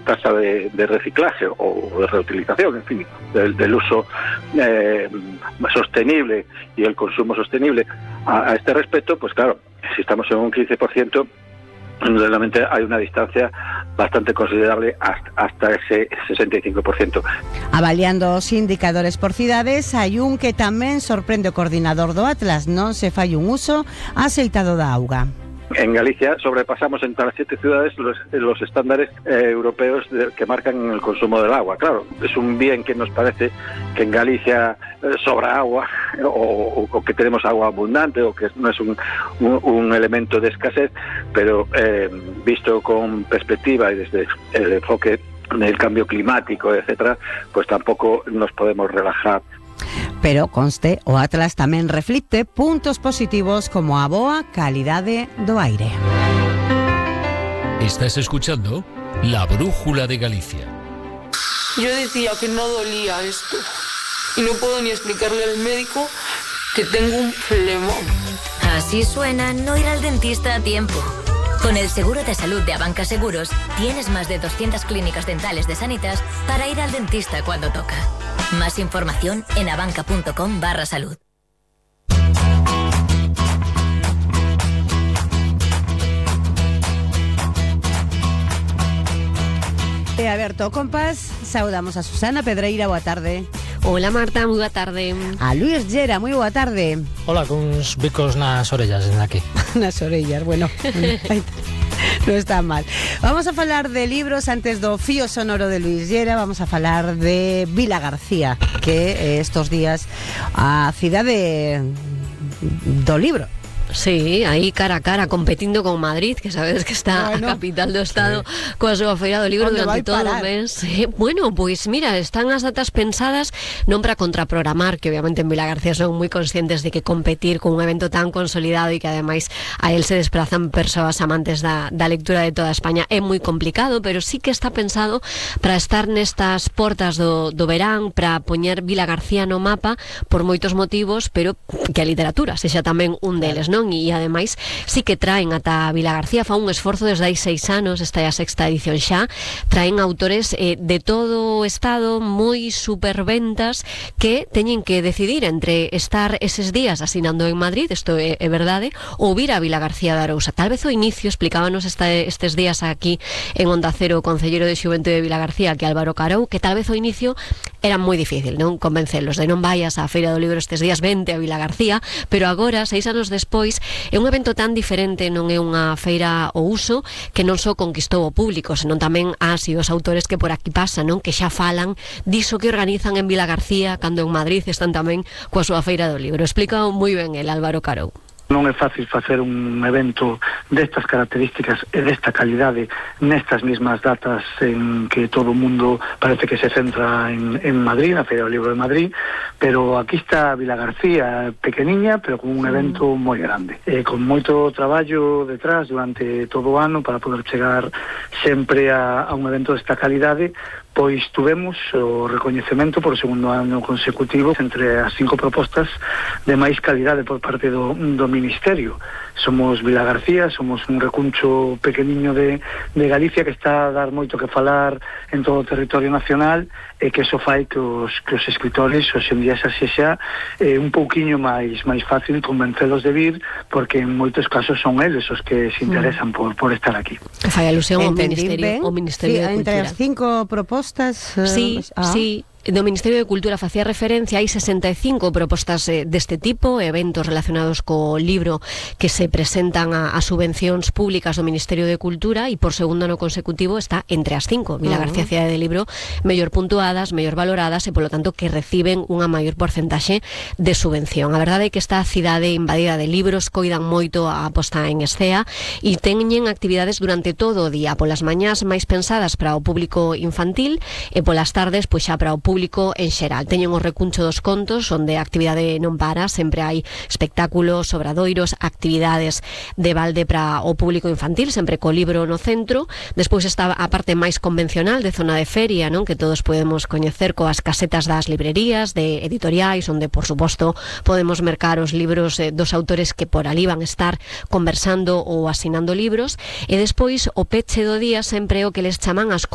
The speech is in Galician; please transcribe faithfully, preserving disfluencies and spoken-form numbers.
tasa de, de reciclaje o de reutilización, en fin, del, del uso eh, sostenible y el consumo sostenible a, a este respecto, pues claro, si estamos en un quince por ciento, realmente hay una distancia bastante considerable hasta, hasta ese sesenta y cinco por ciento. Avaliando os indicadores por cidades, hai un que tamén sorprende o coordinador do Atlas: non se fai un uso aceitado da auga. En Galicia sobrepasamos entre las siete ciudades los, los estándares eh, europeos de, que marcan el consumo del agua. Claro, es un bien que nos parece que en Galicia eh, sobra agua o, o que tenemos agua abundante o que no es un, un, un elemento de escasez, pero eh, visto con perspectiva y desde el enfoque del cambio climático, etcétera, pues tampoco nos podemos relajar. Pero conste, o Atlas tamén reflicte puntos positivos como a boa calidade do aire. Estás escuchando La Brújula de Galicia. Yo decía que no dolía esto y no puedo ni explicarle al médico que tengo un flemón. Así suena no ir al dentista a tiempo. Con el seguro de salud de Abanca Seguros tienes más de doscientas clínicas dentales de Sanitas para ir al dentista cuando toca. Más información en abanca.com barra salud. E aberto o compás, saudamos a Susana Pedreira, boa tarde. Hola Marta, moi boa tarde. A Luís Llera, moi boa tarde. Hola, cuns bicos nas orellas desde aquí. Nas orellas, bueno, no está mal. Vamos a falar de libros antes do fío sonoro de Luís Llera. Vamos a falar de Vilagarcía, que eh, estos días a cidade do libro. Sí, aí cara a cara competindo con Madrid, que sabes que está bueno, a capital do estado, sí, coa súa feira do libro durante todo o mes. Sí, bueno, pois pues mira, están as datas pensadas non para contraprogramar, que obviamente en Vilagarcía son moi conscientes de que competir con un evento tan consolidado e que ademais a él se desplazan persoas amantes da, da lectura de toda España é moi complicado, pero sí que está pensado para estar nestas portas do, do verán, para poñer Vilagarcía no mapa por moitos motivos, pero que a literatura sexa tamén un deles, non? E ademais sí que traen ata Vilagarcía, fa un esforzo desde hai seis anos, esta é a sexta edición xa, traen autores eh, de todo o estado, moi superventas, que teñen que decidir entre estar eses días asinando en Madrid, isto é, é verdade, ou vir a Vilagarcía de Arousa. Tal vez o inicio, explicábanos esta, estes días aquí en Onda Cero o concelleiro de Xuventude de Vilagarcía, que Álvaro Carou, que tal vez o inicio era moi difícil, non convencelos de non vayas á Feira do Libro estes días, vente a Vilagarcía, pero agora, seis anos despois, é un evento tan diferente, non é unha feira ao uso que non só conquistou o público, senón tamén as e os autores que por aquí pasan, non, que xa falan diso que organizan en Vilagarcía cando en Madrid están tamén coa súa Feira do Libro. Explica moi ben el Álvaro Carou. Non é fácil facer un evento destas características e desta calidade nestas mismas datas en que todo o mundo parece que se centra en, en Madrid, na Feira do Libro de Madrid, pero aquí está Vilagarcía, pequeniña, pero con un evento moi grande, e con moito traballo detrás durante todo o ano para poder chegar sempre a, a un evento desta calidade. Pois tuvemos o recoñecemento por segundo ano consecutivo entre as cinco propostas de máis calidade por parte do, do Ministerio. Somos Vilagarcía, somos un recuncho pequeniño de, de Galicia que está a dar moito que falar en todo o territorio nacional, e que eso fai que os, que os escritores hoxe en día xa sexa eh, un pouquiño máis máis fácil convencelos de vir, porque en moitos casos son eles os que se interesan mm. por, por estar aquí. Fai alusión ao Ministerio, ao Ministerio sí, de Cultura. Entre as cinco propostas... Uh, sí, ah. sí. Do Ministerio de Cultura facía referencia, hai sesenta e cinco propostas eh, deste tipo, eventos relacionados co libro que se presentan a, a subvencións públicas do Ministerio de Cultura, e por segundo ano consecutivo está entre as cinco. Vilagarcía, uh-huh. Cidade de Libro, mellor puntuadas, mellor valoradas, e polo tanto que reciben unha maior porcentaxe de subvención. A verdade é que esta cidade invadida de libros coidan moito a posta en escea e teñen actividades durante todo o día, polas mañás máis pensadas para o público infantil e polas tardes pois xa para o público en xeral. Teñen o recuncho dos contos, onde a actividade non para, sempre hai espectáculos, obradoiros, actividades de balde para o público infantil, sempre co libro no centro. Despois está a parte máis convencional de zona de feria, non, que todos podemos coñecer coas casetas das librerías, de editoriais, onde, por suposto, podemos mercar os libros eh, dos autores que por ali van estar conversando ou asinando libros. E despois o peche do día sempre o que les chaman as